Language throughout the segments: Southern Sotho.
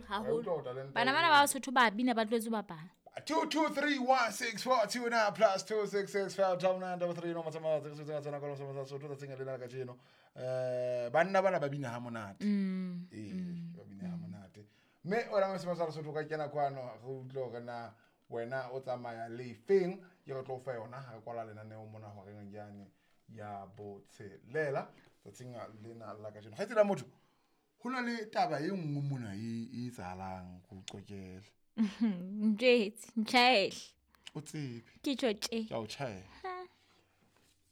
Haholo. Bana bana ba Basotho ba bina, ba tlwaetse ho bapala. 2 2 3 1 6 4 2 9 plus 2 6 6 5 9 9 3 no matsamaya tse tse tsena ka sa Sotho tsatsing lena la kajeno. Banna bana ba bina ha monate. Ee, ba bina ha monate. Mme wena mo sa Sotho ka kena kwano re utlwe hore na wena o tsamaya le feng, ke re tlo fa yona ha re kwala lenaneo mona horeng yane ya botshelela tsatsing lena la kajeno. Kgaitsedi ya motho, ho na le taba e nngwe mona e etsahalang go qokele. Njwetse, ntjhaele. O tsebe. Ke tjho tje. Ke a o tjhaela.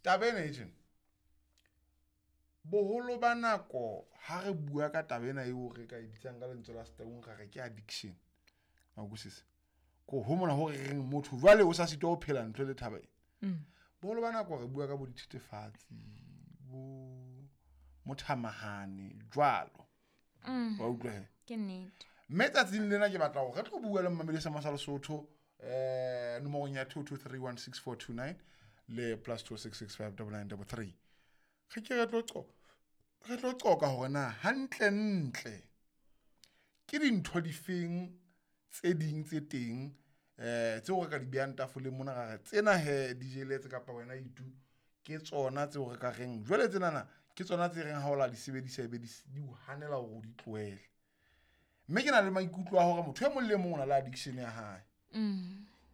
Taba ena e tjena, boholo ba nako ha re bua ka taba ena eo re ka e bitsang ka lentswe la Setaung ra re ke addiction, wa utlwisisa? Ko ho mona ho re reng motho jwale o sa sitwa ho phela ntle le taba ena. Boholo ba nako re bua ka bo dithethefatsi, bo mothamahane jwalo, wa utlwa he? Ke nnete. Mme tsatsing lena ke batla hore re tlo bua le mmamedi sa sa Lesotho nomorong ya 22316429 le plus 26659933. Re ke re tlo qoqa hore na hantle ntle ke dintho difeng tse ding tse teng tseo re ka di behang tafoleng mona, ra re tsena he di jeletse kapa wena itu ke tsona tseo re ka reng jwale tsenana ke tsona tse reng ha o la di sebedisa ebe di o hanela hore o di tlohele. Mme ke na le maikutlo a hore motho e mong le mong o na le addiction ya hae.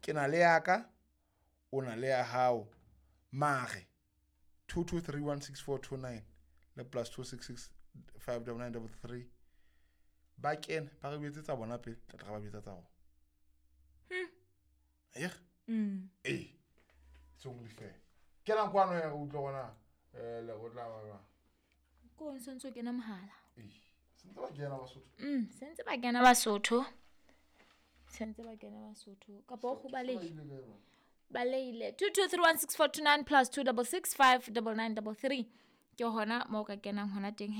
Ke na le ya ka, o na le ya hao, mare 22316429 le plus 26659933 ba kene ba re tsa bona pele, tla tla ba betsa tsa rona. Ee, it's only fair. Kenang kwano he re utlwe gona le go tla ba Ko sentse o kena mohala. Ee, sentse ba kena Basotho. Sentse ba kena Basotho. Sentse ba kena Basotho. Kapa o kgobaleile. Baleile. 22316429 plus 26659933. Ke hona moo ka kenang hona teng he.